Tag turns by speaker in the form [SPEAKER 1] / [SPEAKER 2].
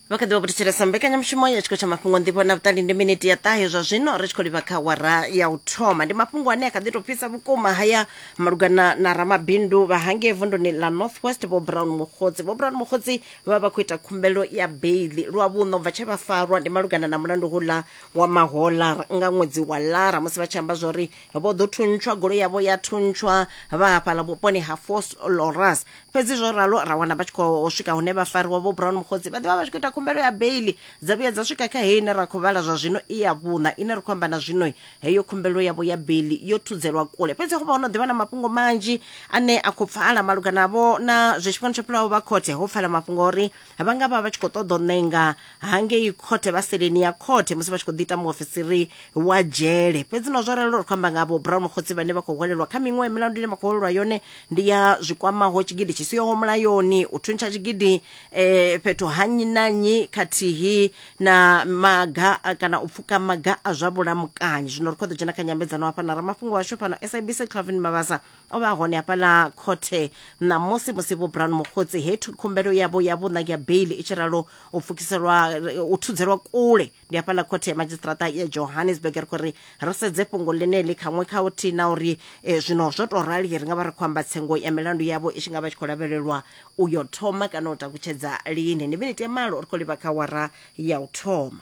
[SPEAKER 1] Vha kha ḓi vha vho thetshelesa mbekanyamushumo ya tshiko tsha mafhungo nḓivho na vhuṱali. Ndi miniti ya ṱahe zwa zwino ri tshi khou livha kha wara ya u thoma. Ndi mafhungo ane a kha ḓi tou fhisa vhukuma haya malugana na ramabindu vha hangei vunduni ḽa North West Vho Brown Mokgotsi. Vho Brown Mokgotsi vha vha khou ita khumbelo ya beiḽi lwa vhuṋa u bva tshe vha farwa, ndi malugana na mulandu houḽa wa mahola nga ṅwedzi wa Lara, musi vha tshi amba zwori vho ḓo thuntshwa, goloi yavho ya thuntshwa vha hafhaḽa vhuponi ha Vosloorus. Fhedzi zwo ralo ra wana vha tshi khou swika hune vha fariwa. Vho Brown Mokgotsi vha ḓivha vha tshi khou ita khumbelo ya beiḽi, dza vhuya dza swika kha heyi ine ra khou vhala zwa zwino i ya vhuṋa ine ri khou amba na zwino. Heyo khumbelo yavho ya beiḽi yo thudzelwa kule, fhedzi ho vha ho no ḓivha na mafhungo manzhi ane a khou pfala malugana vho na zwe tshifhingani tsho fhelaho vha khothe. Ho pfala mafhungo uri vha nga vha vha tshi khou ṱoḓa u ṋenga hangei khothe vha seleni ya khothe musi vha tshi khou ḓiita muofisiri wa dzhele. Fhedzi no zwo ralo ri khou amba nga vho Brown Mokgotsi vhane vha khou hwelelwa kha miṅwe milandu ine vha khou hwelelwa yone ndi ya zwikwamaho tshigidi tshi siho mulayoni, u thuntsha tshigidi fhethu ha nnyi na nnyi, khathihi na maga kana u pfuka maga a zwa vhulamukanyi. Zwino ri khou ḓo dzhena kha nyambedzano hafha na ramafhungo washu fhano SABC Calvin Mabasa, o vha hone hafhaḽa khothe ṋamusi musi Vho Brown Mokgotsi he khumbelo yavho ya vhuṋa ya beiḽi i tshi ralo u pfukiselwa u thudzelwa kule. Ndi hafhaḽa khothe ya madzhisiṱiraṱa ya Johannesburg. Ri khou ri ri sedze fhungo ḽeneḽi khaṅwe kha uthihi na uri zwino zwo tou rali ri nga vha ri khou amba tsengo ya milandu yavho i tshi nga vha tshi khou lavhelelwa u yo thoma kana u takutshedza lini. Ndi miniti ya malo ri khou livha kha wara ya u thoma.